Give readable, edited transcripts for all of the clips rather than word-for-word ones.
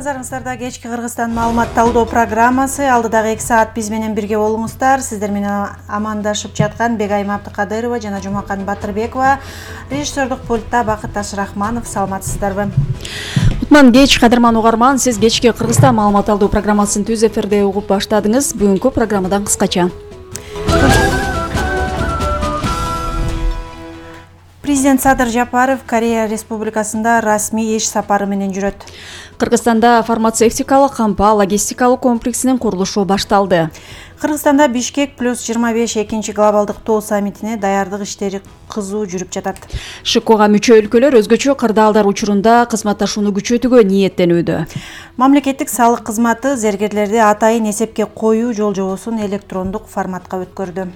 Назарыңыздарда кечки Кыргызстан маалымат талдоо программасы. Алдыдагы 2 саат биз менен бирге болуңуздар. Сиздер менен амандашып жаткан Бегайым Абдыкадырова жана Жумакан Батырбекова. Режиссердук пультта Бакыт Ашрахманов. Саламатсыздарбы? Кутман кеч, кадырман угарман. Сиз кечки Кыргызстан маалымат талдоо программасын түз эфирде угуп баштадыңыз. Бүгүнкү программадан кыскача. Президент Садыр Жапаров Корея Республикасында расмий иш сапары менен жүрөт. Кыргызстанда фармацевтикалык кампа логистикалык комплексинин курулушу башталды. Кыргызстанда Бишкек +25 экинчи глобалдык тоо саммитине даярдык иштери кызуу жүрүп жатат. ШКга мүчө өлкөлөр өзгөчө кырдаалдар учурунда кызматташууну күчөтүүгө ниеттенүүдө. Мамлекеттик салык кызматы зергерлерди атайын эсепке коюу жол-жобосун электрондук форматка өткөрдү.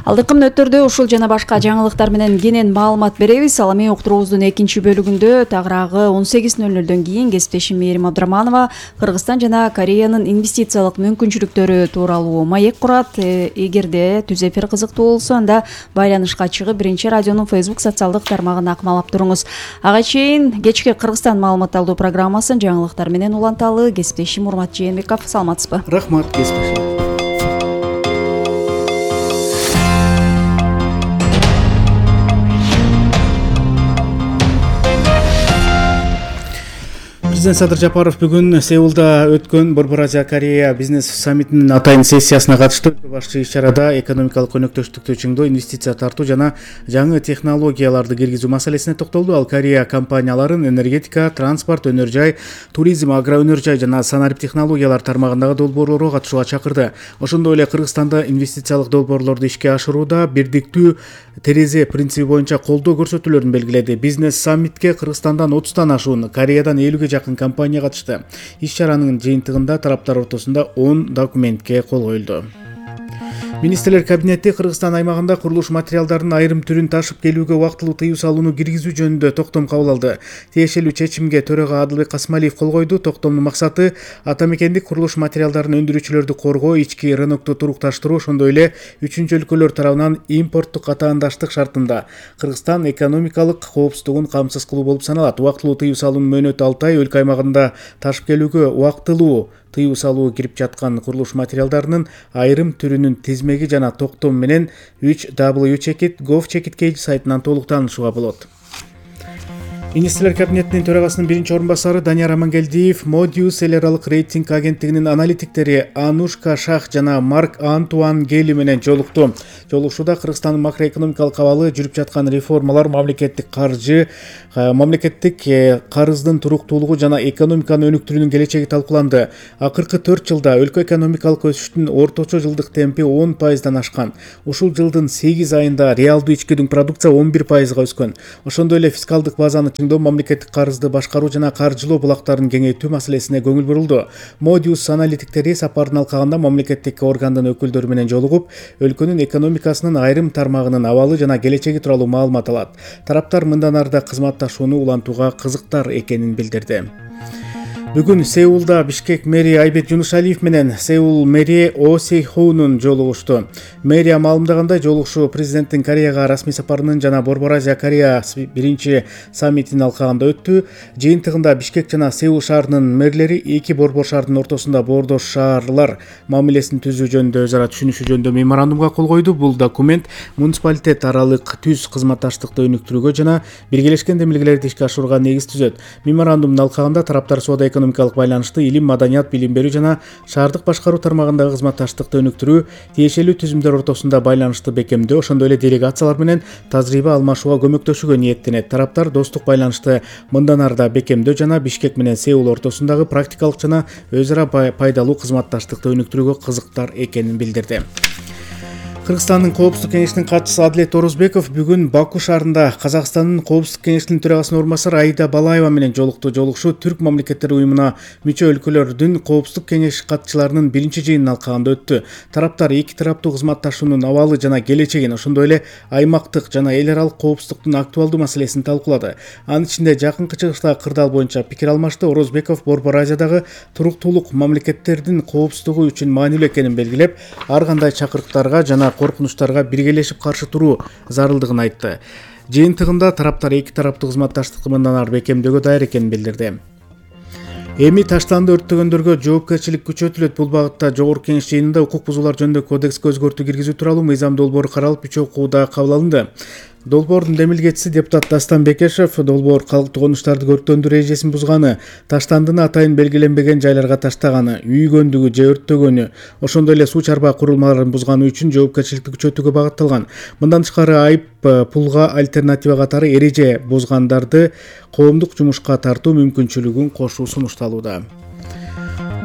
Алдыңкы мүнөттөрдө ушул жана башка жаңылыктар менен кенен маалымат беребиз. Ал эми уктуруубуздун экинчи бөлүгүндө тагыраагы 18:00 кийин кесиптешим Мээрим Абдыраманова Кыргызстан жана Кореянын инвестициялык мүмкүнчүлүктөрү тууралуу маек курат. Эгерде түз эфир кызыктуу болсо, анда байланышка чыгып биринчи радионун Facebook социалдык тармагын акмалап туруңуз. Ага чейин кечки Кыргызстан маалымат талдоо программасын жаңылыктар менен уланталы. Кесиптешим Урмат Жээнбеков, саламатсызбы? Рахмат, кесиптешим. Президент Садыр Жапаров бүгүн Сеулда өткөн Борбор Азия Корея бизнес саммитинин атайын сессиясына катышты. Башчы иш-чарада экономикалык өнөктөштүктү чыңдоо, инвестиция тартуу жана жаңы технологияларды киргизүү маселесине токтолду. Ал Корея компанияларын энергетика, транспорт, өнөр жай, туризм, агроөнөр жай жана санарип технологиялар тармагындагы долбоорлорго катышууга чакырды. Ошондой эле Кыргызстанда инвестициялык долбоорлорду ишке ашырууда бирдиктүү терезе принципи боюнча колдоо көрсөтүүлөрүн белгиледи. Бизнес саммитке Кыргызстандан 30тан ашуун, Кореядан 50ге жакын компания катышты. Иш-чаранын жыйынтыгында тараптар ортосунда 10 документке кол коюлду. Министрлер кабинети Кыргызстан аймагында курулуш материалдарынын айрым түрүн ташып келүүгө убактылуу тыюу салууну киргизүү жөнүндө токтом кабыл алды. Тиешелүү чечимге төрага Адылбек Касмалиев кол койду. Токтомдун максаты ата мекендик курулуш материалдарын өндүрүүчүлөрдү коргоо, ички рынокту турукташтыруу, ошондой эле үчүнчү өлкөлөр тарабынан импорттук атаандаштык шартында Кыргызстан экономикалык коопсуздугун камсыз кылуу болуп саналат. Убактылуу тыюу салуунун мөөнөтү 6 ай, өлкө аймагында ташып келүүгө убактылуу тыюу салуу кирип жаткан курулуш материалдарынын айрым түрүнүн тизмеги жана токтом менен 3w.gov.kg сайтынан толук таанышууга болот. Министрлер кабинетинин төрагасынын биринчи орун басары Данияр Амангелдиев Modius эл аралык рейтинг агенттигинин аналитиктери Анушка Шах жана Марк Антуан Гели менен жолукту. Жолугушууда Кыргызстандын макроэкономикалык абалы, жүрүп жаткан реформалар, мамлекеттик карыздын туруктуулугу жана экономиканы өнүктүрүүнүн келечеги талкууланды. Акыркы 4 жылда өлкө экономикалык өсүштүн орточо жылдык темпи 10%дан ашкан. Ушул жылдын 8 айында реалдуу ички дүң продукция 11%га өскөн. Ошондой эле фискалдык базаны чыңдоо, мамлекеттик карызды башкаруу жана каржылоо булактарын кеңейтүү маселесине көңүл бурулду. Modius аналитиктери сапардын алкагында мамлекеттик органдын өкүлдөрү менен жолугуп, өлкөнүн экономикасынын айрым тармагынын абалы жана келечеги тууралуу маалымат алат. Тараптар мындан арда кызматташууну улантууга кызыктар экенин билдирди. Бүгүн Сеулда Бишкек мэри Айбек Жунушалиев менен Сеул мэри О Сейхоунун жолугушту. Мэрия маалымдагандай, жолугушуу президенттин Кореяга расмий сапарынын жана Борбор Азия Корея биринчи саммитинин алкагында өттү. Жыйынтыгында Бишкек жана Сеул шаарынын мэрлери эки борбор шаардын ортосунда боордош шаарлар мамилесин түзүү жөнүндө өзара түшүнүшүү жөнүндө меморандумга кол койду. Бул документ муниципалитет аралык түз кызматташтыкты өнүктүрүүгө жана биргелешкен демилгелерди ишке ашырууга негиз түзөт. Меморандумдун алкагында тараптар соода экономикалык байланышты, илим, маданият, билим берүү жана шаардык башкаруу тармагындагы кызматташтыкты өнүктүрүү, тиешелүү түзүмдөр ортосунда байланышты бекемдөө, ошондой эле делегациялар менен тажрыйба алмашууга көмөктөшүүгө ниеттенет. Тараптар достук байланышты мындан арда бекемдөө жана Бишкек менен Сеул ортосундагы практикалык жана өз ара пайдалуу кызматташтыкты өнүктүрүүгө кызыктар экенин билдирди. Кыргызстандын Коопсуздук кеңешинин катчысы Адилет Орозбеков бүгүн Баку шаарында Казакстандын Коопсуздук кеңешинин төрагасынын орун басары Аида Балаева менен жолукту. Жолугушуу Түрк мамлекеттери уюмуна мүчө өлкөлөрдүн Коопсуздук кеңеш катчыларынын биринчи жыйынынын алкагында өттү. Тараптар эки тараптуу кызматташуунун абалы жана келечегин, ошондой эле аймактык жана эл аралык коопсуздуктун актуалдуу маселесин талкуулады. Анын ичинде жакынкы чыгыштагы кырдаал боюнча пикир алмашты. Орозбеков Борбор Азиядагы туруктуулук мамлекеттердин коопсуздугу үчүн маанилүү экенин белгилеп, ар кандай чакырыктарга жана коркунучтарга биргелешип каршы туруу зарылдыгын айтты. Жыйынтыгында тараптар эки тараптуу кызматташтыкты мындан ары бекемдөөгө даяр экенин билдирди. Эми таштанды өрттөгөндөргө жоопкерчилик күчөтүлөт. Бул багытта Жогорку Кеңеш жыйынында укук бузуулар жөнүндө кодекске өзгөртүү киргизүү тууралуу мыйзам долбоору каралып, 3 окууда кабыл алынды. Долбоордун демилгечиси депутат Дастан Бекешев долбоор калктык конуштарды көрктөндүрүү эрежесин бузганы, таштандыны атайын белгиленбеген жайларга таштаганы, үйгөндүгү же өрттөгөнү, ошондой эле суу чарбаа курулмаларын бузганы үчүн жоопкерчиликти күчөтүүгө багытталган. Мындан тышкары айып пулга альтернатива катары эреже бузгандарды коомдук жумушка тартуу мүмкүнчүлүгүн кошуу сунушталууда.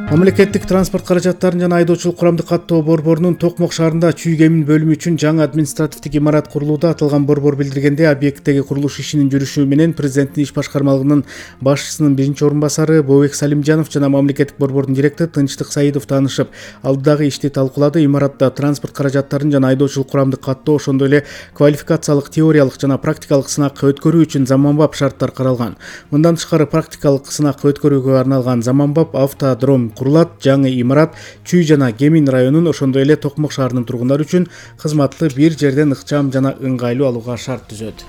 Мамлекеттик транспорт каражаттарын жана айдоочулук курамдык каттоо борборунун Токмок шаарында чүй кемин бөлүмү үчүн жаңы административдик имарат курулууда. Аталган борбор билдиргенде, объекттеги курулуш ишинин жүрүшү менен президенттин иш башкармалыгынын башчысынын биринчи орун басары Бообек Салимжанов жана мамлекеттик борбордун директору Тынчтык Саидов таанышып, алдыдагы ишти талкуулады. Имаратта транспорт каражаттарын жана айдоочулук курамдык каттоо, ошондой эле квалификациялык, теориялык жана практикалык сынакка өткөрүү үчүн заманбап шарттар каралган. Мындан тышкары практикалык сынакка өткөрүүгө арналган заманбап автодром курулат. Жаңы имарат Чүй жана Кемин районун, ошондой эле Токмок шаарынын тургундары үчүн кызматты бир жерден ыкчам жана ыңгайлуу алууга шарт түзөт.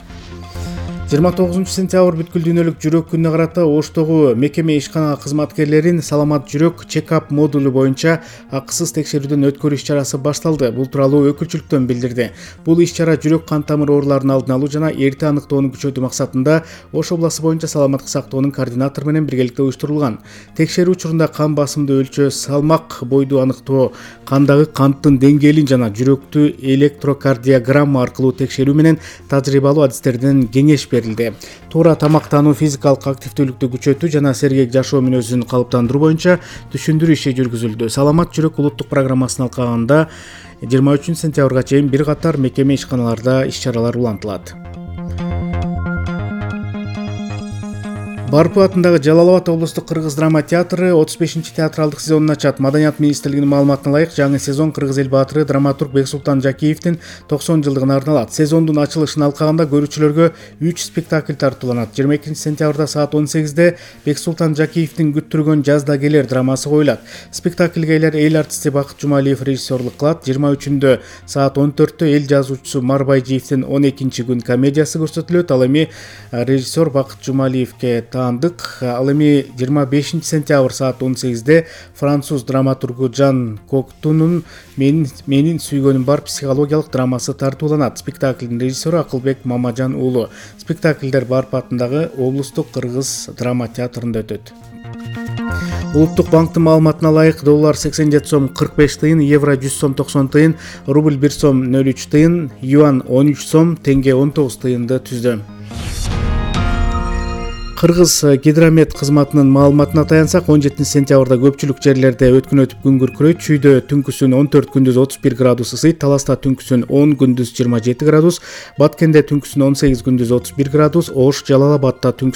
29 сентябрь бүткүл дүйнөлүк жүрөк күнүнө карата Оштогу мекеме ишкана кызматкерлерин саламат жүрөк чек-ап модулу боюнча акысыз текшерүүдөн өткөрүү иш-чарасы башталды. Бул тууралуу өкүлчүлүктөн билдирди. Бул иш-чара жүрөк кан тамыр ооруларын алдын алуу жана эрте аныктоону күчөтүү максатында Ош областы боюнча саламаттык сактоонун координатору менен биргеликте уюштурулган. Текшерүү учурунда кан басымды өлчөө, салмак, бойду аныктоо, кандагы канттын деңгээлин жана жүрөктү электрокардиограмма аркылуу текшерүү менен тажрыйбалуу адистерден кеңеш берилди. Туура тамактануу, физикалык активдүүлүктү күчөтүү жана сергек жашоо мүнөзүн калыптандыруу боюнча түшүндүрүү иши жүргүзүлдү. Саламат жүрөк улуттук программасын алкаганда 23 сентябрга чейин бир катар мекеме ишканаларда иш-чаралар улантылат. Барпы атындагы Жалал Абад облустук кыргыз драма театры 35-чи театралдык сезонун ачат. Маданият министрлигинин маалыматына ылайык, жаңы сезон кыргыз эл баатыры драматург Бексултан Жакиевдин 90 жылдыгына арналат. Сезондун ачылышын алкаганда көрүүчүлөргө 3 спектакль тартууланат. 22 сентябрда саат 18-де Бексултан Жакиевдин күттүргөн жазда келер драмасы коюлат. Спектакльге эл артисти Бакыт Жумалиев режиссерлук кылат. 23-үндө саат 14-тө эл жазуучусу Марбайжиевдин 12-күн комедиясы көрсөтүлөт. Ал эми режиссер Бакыт Жумалиевке таандык. Ал эми 25 сентябрь саат 18-де француз драматургу Жан Коктунун менин сүйгөнүм бар психологиялык драмасы тартууланат. Спектаклдин режиссеру Акылбек Мамажан уулу. Спектакльдер Барпы атындагы облустук кыргыз драма театрында өтөт. Улуттук банктын маалыматына ылайык, доллар 87 сом 45 тыйын, евро 100 сом 90 тыйын, рубль 1 сом 03 тыйын, юан 13 сом, тенге 19 тыйынды түздү. Кыргыз гидромет кызматынын маалыматына таянсак, 17 сентябрда көпчүлүк жерлерде өткүн өтүп күн күркүрөйт. Чүйдө түнкүсүн 14, күндүз 31 градус ысыйт. Таласта түнкүсүн 10, күндүз 27 градус. Баткенде түнкүсүн 18, күндүз 31 градус. Ош, Жалал Абадта түнкүсүн